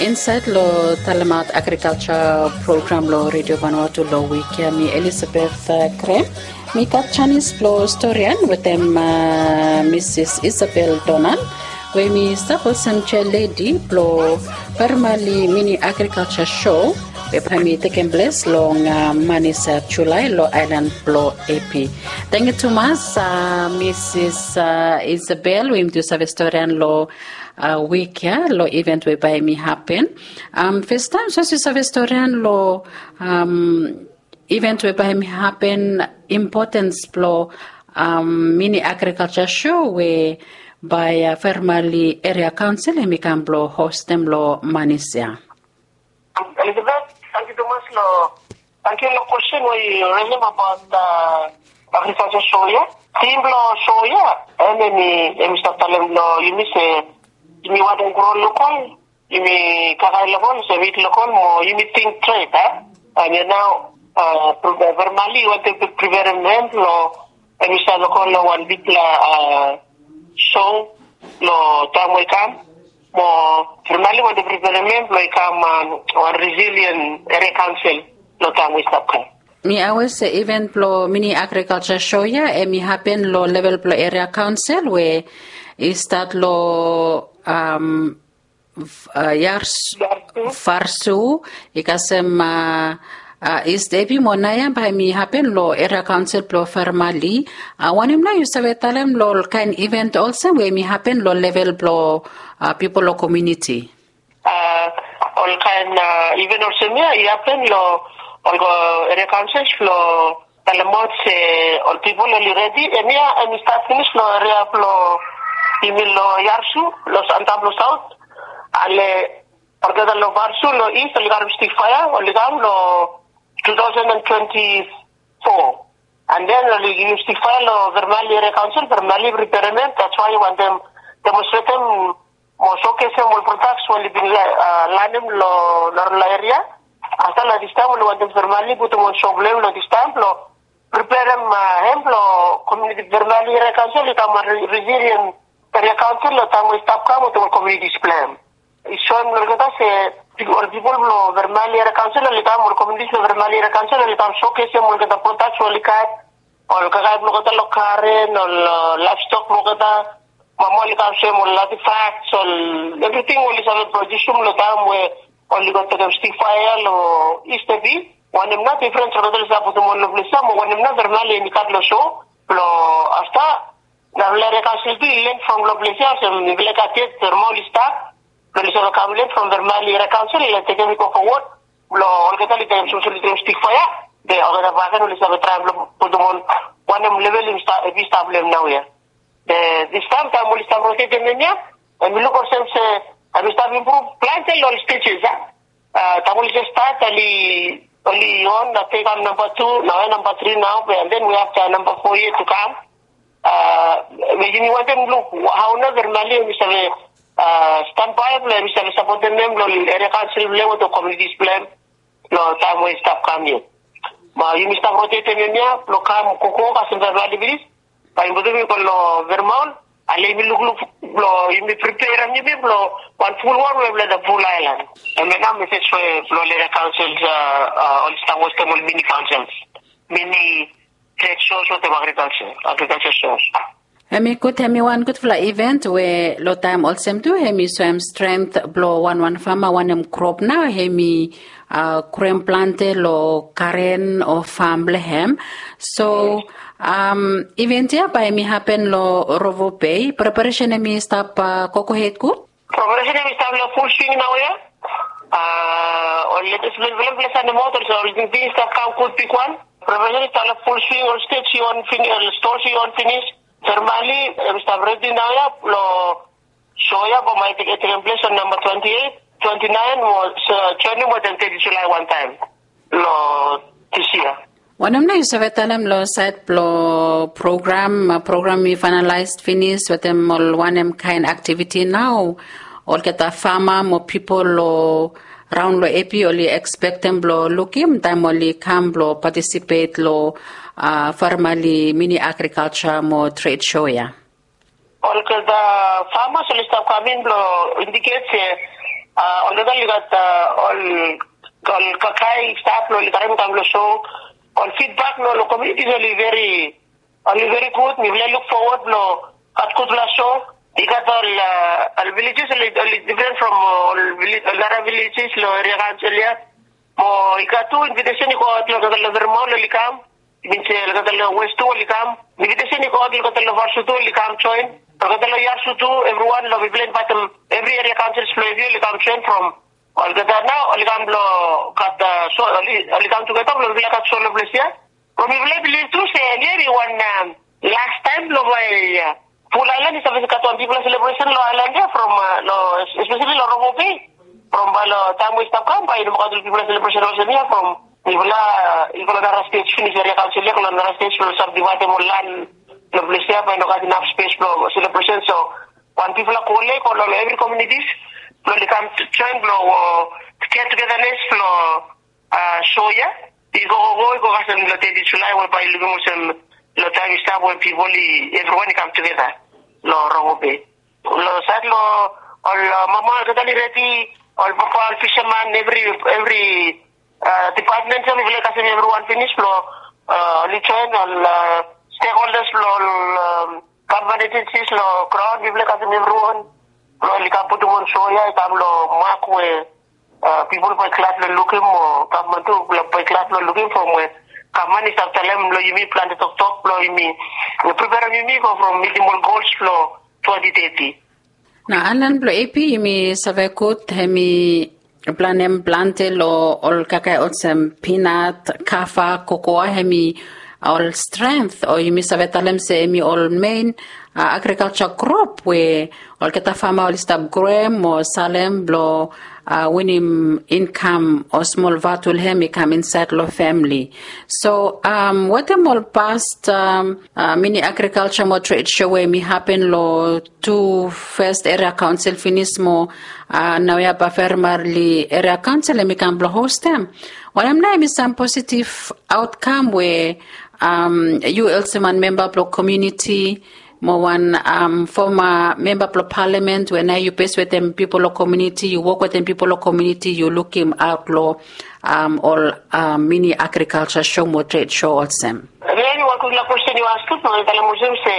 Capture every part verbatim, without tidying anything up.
Insaed long talemaot agrikalja program long Redio Vanuatu long wik ya, mi Elizabeth Krem. Mi gat janis blong storian wetem Misis Isabel Donan, we mi stap olsem jealedi blong Vermali Mini Agrikalja Show, we bae mi tekem ples long manis Julae long aelan blong Epi. Tangkiu tumas, Misis Isabel, we yumi tu save storian long wik ya long iven we bae mi hapen. Festaem, sapos yu save storian long iven we bae mi hapen, impotens blong Mini Agrikalja Show we bae Vermali Eria Kaonsel hemi kam blong hostem long manis ya. Elizabeth, tangkiu tumas long, tangkiu long kwestin we yu resem abaot agrikalja show ya. Tim blong show ya, hemi, hemi stap talem long yumi se yumi wantem gro lokal, yumi kakae lokal, se mit lokal mo yumi ting tred, a? Hemia nao Vermali wantem preferem hem long hemi stap lokal long wan bigfala show long taem we i kam. Mo Vermali wantem preferem hem blong i kam wan resilien eria kaonsel long taem we i stap kam. Mi awea se iven blong Mini Agrikalja Show ya hemi hapen long level blong eria kaonsel we i stat long Yarsu, Varsu, i kasem Ist Epi mo naoia bae hemi hapen long eria kaonsel blong Vermali. Wanem nao yu save talem long ol kaen iven olsem we hemi hapen long level blong pipol long komuniti? Ol kaen iven olsem ya i hapen long ol eria kaonsel blong talemaot se ol pipol oli redi. Hemia hemi stat finis long eria blong yumi long Yarsu, long antap long saot. Ale olgeta long Varsu long ist oli karem stik faea, oli kam long two thousand and twenty-four. And then oli givim stik faea long Vermali Eria Kaonsel, Vermali preferem hem, that's why wantem demonstretem mo showcasem ol products we oli bin lanem long narafala eria. Afta long distaem oli wantem Vermali putum wan show blong hem long distaem blong preferem hem blong komuniti. Vermali Eria Kaonsel i kam wan resilien eria kaonsel long taem we i stap kam wetem ol komunitis blong hem. I soem long olgeta se ol pipol blong Vermali Eria Kaonsel oli kam, ol komunitis blong Vermali Eria Kaonsel oli kam showcasem olgeta products we oli gat, ol kakae blong olgeta long garen, ol laevstok blong olgeta. Mama oli kam soem ol artifacts, ol evriting we oli save produsum long taem we oli go tekem stik faea long Ist Epi. Wanem nao difrens olgeta oli save putum ol long ples ya, mo wanem nao Vermali hemi gat long show blong afta narafala eria kaonsel tu i len from long ples ya olsem mifala i gat yet, Vermali oli stap blong oli save kam len from Vermali Eria Kaonsel oli tekem i go fowod blong olgeta oli tekem, sapos oli tekem stik faea, be olgeta bakegen oli save traem blong putum ol wanem level hemi stap long hem naoia. Be distaem taem oli stap rotetem hemia, hemi luk olsem se hemi stap impruv plante long ol stejes ya. Taem oli jes stat oli, oli on, afta i kam namba tu, naoia namba tri nao, be and then we have the namba fo yet to come. Be yumi wantem luk hao nao Vermali hemi save stanbae blong hemi save sapotem hem long eria kaonsel blong hem wetem komunitis blong hem long taem we i stap kam ya. Mo yumi stap rotetem hemia blong kam gogo kasem Vermali finis, bae yumi putum i go long Vermont. Ale yumi lukluk blong yumi preperem yumi blong wan ful wol we blong the full island. Hemia nao mesej we blong ol eria kaonsel oli stap hostem ol mini kaonsel, mini tred shows wetem agrikalja, agrikalja shows. Hemi gud, hemi wan gudfala iven we long taem olsem tu hemi soem strength blong wanwan fama, wanem krop nao hemi groem plante long garen o fam blong hem. So iven ya bae hemi hapen long Rovo Bay. Preparesen hemi stap gogo hed gud? Preparesen hemi stap long ful swing naoia. Ol letes blong ples ya nao, ol tingting i stap kam gud bigwan. Preparesen i stap long ful swing, ol stej i on finis, ol stores i on finis. Vermali hemi stap redi naoia long show ya, bambae i tekem ples on namba twenty-eight, twenty-nine mo joenem wetem teti Julae wantaem long dis yia. Wanem nao yu save talem long saed blong program, program i faenalaes finis, wetem ol wanem kaen aktiviti nao olgeta fama mo pipol long raon long Epi oli ekspektem blong lukim taem oli kam blong patisipet long Vermali Mini Agrikalja mo Tred Show ya? Olgeta famas oli stap kam in blong indiket se ol Oli gat ol ol kakae i stap long oli karim i kam long show. Ol feedback long ol communities oli very oli very good. Mipela i look forward long gat gutpela show. I gat ol ol villages oli oli different from ol village ol nara villages long area council ya. Mo i gat tu invitation i go out long gat long vermont oli kam. Bin se olgeta long west tu oli kam. Invitation i go out olgeta long varsu tu oli kam join. Olgeta long yarsu tu, everyone long mipela invitem every area councils blong evi oli kam join from olgeta nao oli kam blong gat so oli kam tugeta blong mipela gat so long ples ya. From mipela i bilif tu se lia i wan last taim blong bai pul ailan i save gat wan bigpela selebresen long ailan ya from long espesali long robo bei. From bai long taim we i stap kam bai i no moa gat ol bigpela selebresen olsem ya from mipela i go long nara stes finis eria kaunsil ya go long nara stes blong sab divaidem ol lan long ples ya bai i no gat inap spes blong selebresen. So wan bigpela kole i go long evri komunitis blong oli kam join blong get tugedanes blong so ya i go go go i go kasem long teti julai we bai i lukim olsem long taim i stap we pipol i evriwan i kam tugeda long robo bei. Long sait long ol mama olgeta oli redi, ol papa ol fisaman evri evri dipatmen so mipela i kasem evriwan finis blong oli join ol stekholdas blong ol gavman ejensis long graun mipela i kasem evriwan blong oli kam putum wan so ya i kam long mak we pipol bai glad long lukim o gavman tu bai glad long lukim from we gavman i stap talem long yumi plante toktok blong yumi preperem yumi go from mitim ol gols blong twenti teti. Na ailan blong ap yumi save gut hem i planem plante long ol kakae olsem pinat, kafa, kokoa hem i ol strength o yumi save talem se hem i ol mein agrikalsa grup we olgeta fama oli stap groem o salem blong winim inkam o smol vatul hem i kam insaed long famili. So wetem ol past mini agrikalsa mo tred sho we hem i hapen long tu fes eria kaunsil finis mo naoia bafermali eria kaunsil hem i kam blong hostem, wanem nao hem i sam positiv autkam we yu olsem wan memba blong komuniti mo wan foma memba blong palamen we nao yu bes wetem pipol long komuniti yu wok wetem pipol long komuniti yu lukim aut long ol mini agrikalsa sho mo tred sho olsem. Em ya em i wan gutpela kwesten yu askem. Long talem olsem se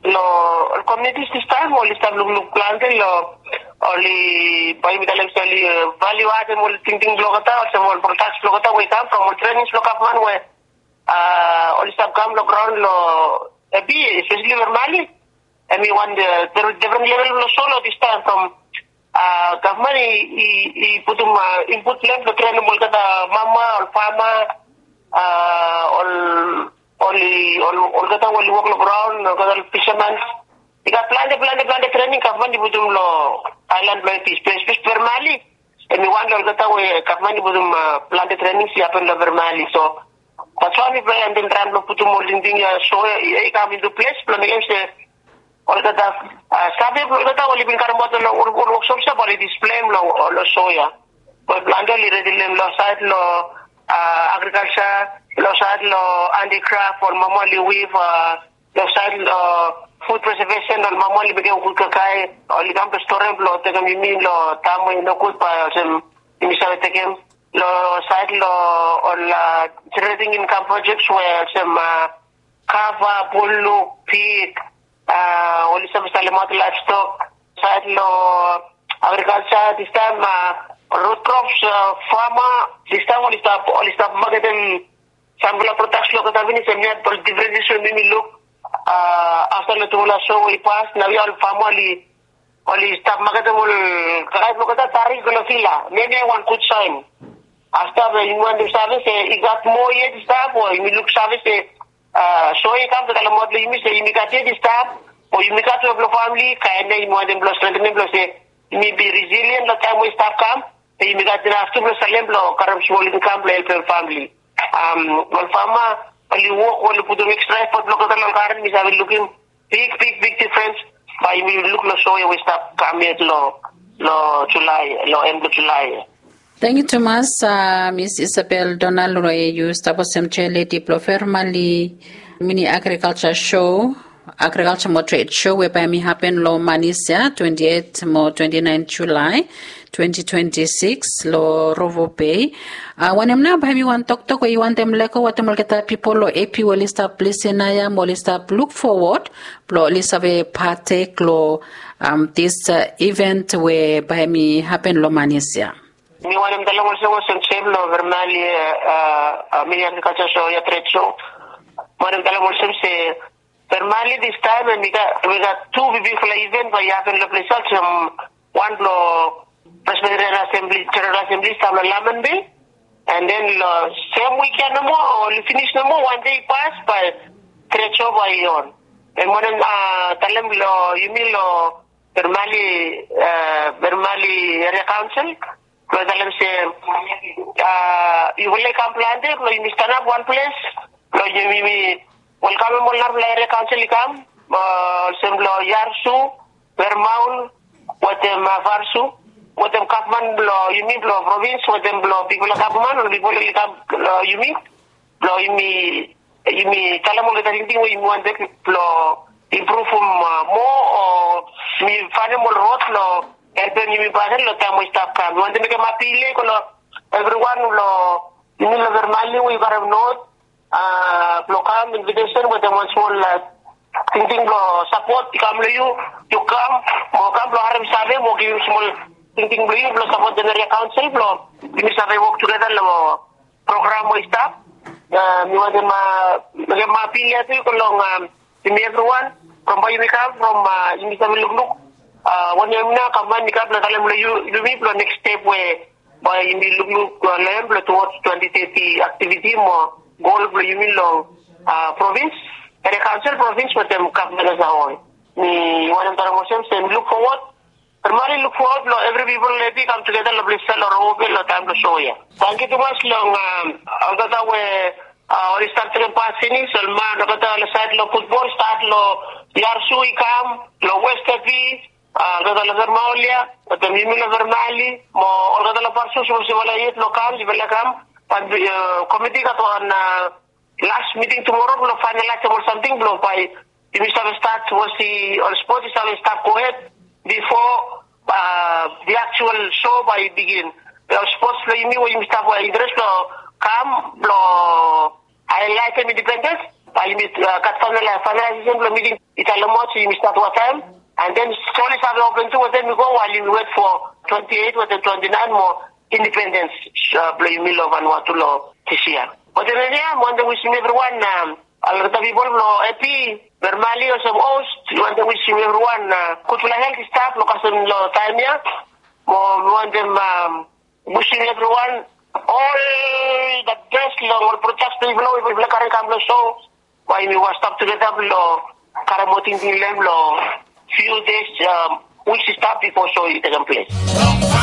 long ol komunitis distaim oli stap lukluk plante long oli bai yumi talem se oli valiu atem ol tingting blong olgeta olsem ol prodaks blong olgeta we i kam from ol trenings blong gavman we oli stap kam long graun long epi espesali long mali. Em i wan defren level blong solo distaim from gavman i putum input blong em blong trenim olgeta mama ol fama ol oli olgeta we oli wok long graun olgeta ol fisaman. I gat plante plante plante trening gavman i putum long ailan blong em i spes spes permali. Em i wan long olgeta we gavman i putum plante trenings i hapen long permali so that's why mipela i andim traim blong putum ol tingting ya so ya i kam intu ples blong mekem se olgeta save blong olgeta oli bin karim aut long ol woksops ya bai oli displeim long long so ya. Bai plante oli redi long em long sait long agrikalsa, long sait long andikraf ol mama oli wiv, long sait long fud presevesen ol mama oli mekem gud kakae oli kam blong storem blong tekem yumi long taim we i no gud bai olsem yumi save tekem long sait long ol jenereting inkam projeks we olsem kava, buluk, pik, oli save salemaot laevstok. Sait long agrikalsa distaim rut krops, fama distaim oli stap oli stap maketem sampela prodaks blong olgeta finis em ya ol diferenses we mi mi luk afta long tufala so we i pas naoia ol fama oli oli stap maketem ol kakae blong olgeta tarik long fila. Em ya i wan gud sain. Afta be yumi wantem save se i gat moa yet i stap o yumi luksave se so i kam be talemaot long yumi se yumi gat yet i stap o yumi gat we blong famili kaen ya yumi wantem blong strengtenem blong se yumi bi resilien long taim we i stap kam. Be yumi gat inaf tu blong salem blong karim smol inkam blong helpem famili. Ol fama oli wok oli putum ekstra efot blong olgeta long garen mi save lukim big big big difrens. Bai yumi luk long so ya we i stap kam yet long long julai long en blong julai. Tangkiu tumas. Mis isabel donald we yu stap olsem jealedi blong fermali mini agrikalsa sho. Agrikalja mo tred sho we bae mi hapen long manis ya twenti et mo twenti naen julae twenti twenti sikis long Rovo Bei. Wanem nao bae mi wan toktok we yu wantem lego wantem olgeta pipol long epi we oli stap lisin nao ya mo oli stap luk fowod blong oli save patek long dis iven we bae mi hapen long manis ya. Mi wantem talem olsem olsem sem long vermali, mini agrikalja sho ya tred sho. Mi wantem talem olsem se vermali distaem em i gat tu bibikfala iven bae i hapen long ples ya olsem wan blong presbiterian asembli jeneral asembli i stap long laman bei. An den long sem wik ya nomo oli finis nomo wan dei i pas bae tred sho bae i on. Em wantem talem long yumi long vermali vermali eria kaonsel blong talem se yufala i kam plante blong yumi stanap wan ples blong yumi welkamem ol narafala eria kaonsel i kam olsem blong yarsu, vermaul, wetem farsu, wetem gavman blong yumi blong provins wetem blong bigfala gavman ol pipol oli kam long yumi blong yumi yumi talem olgeta tingting we yumi wantem blong impruvum moa o yumi faenem ol rod blong helpem yumi bae long taem we i stap kam. Mi wantem mekem apil ya i go long evriwan long yumi long vermali we yu karem not blong kam invitesen wetem wan smol tingting blong sapot i kam long yu. Yu kam mo kam blong harem save mo givim smol tingting blong yu blong sapotem eria kaonsel blong yumi save wok tugeta long program we i stap. Mi wantem mekem apil ya tu i go long yumi evriwan from bae yumi kam from yumi save lukluk wanem nao gavman i kam blong talem long yumi blong neks step we bae yumi lukluk long em blong tuwods twenti teti aktiviti mo gol blong yumi long provins, eria kaonsel provins wetem gavman as a hol. Mi wantem talem olsem se mi luk fowod Vermali luk fowod blong evri pipol long epi i kam tugeta long ples ya long Rovo Bei long taem blong sho ya. Tangkiu tumas long olgeta we oli stap tekem pas finis ol man olgeta long saed long futbol stat long yarsu i kam long west epi olgeta long vermaul ya wetem yumi long vermali mo olgeta long farsu sapos yufala yet long kam yufala kam. Bat komiti i gat wan las miting tumora blong faenalaesem ol samting blong bae yumi save stat wasi ol spot i save stap gohed bifo di aktual sho bae i bigin. Ol spots blong yumi we yumi stap interes blong kam blong haelaetem indipendens bae yumi gat faenalaesesen blong miting i talem olsem yumi stat wanem taem. An den stori save open tu wetem i go wael yumi wet fo twenti et wetem twenti naen mo indipendens blong yumi long Vanuatu long dis yia. Wetem hemia mi wantem wisim evriwan olgeta pipol blong epi vermali olsem host mi wantem wisim evriwan gudfala helt i stap long kasem long taem ya. Mo mi wantem wisim evriwan ol the best long ol prodaks blong yufala we yufala karem kam long sho. Bae yumi wan stap tugeta blong karem moa tingting long hem long fiu des wiks i stap bifo sho i tekem ples.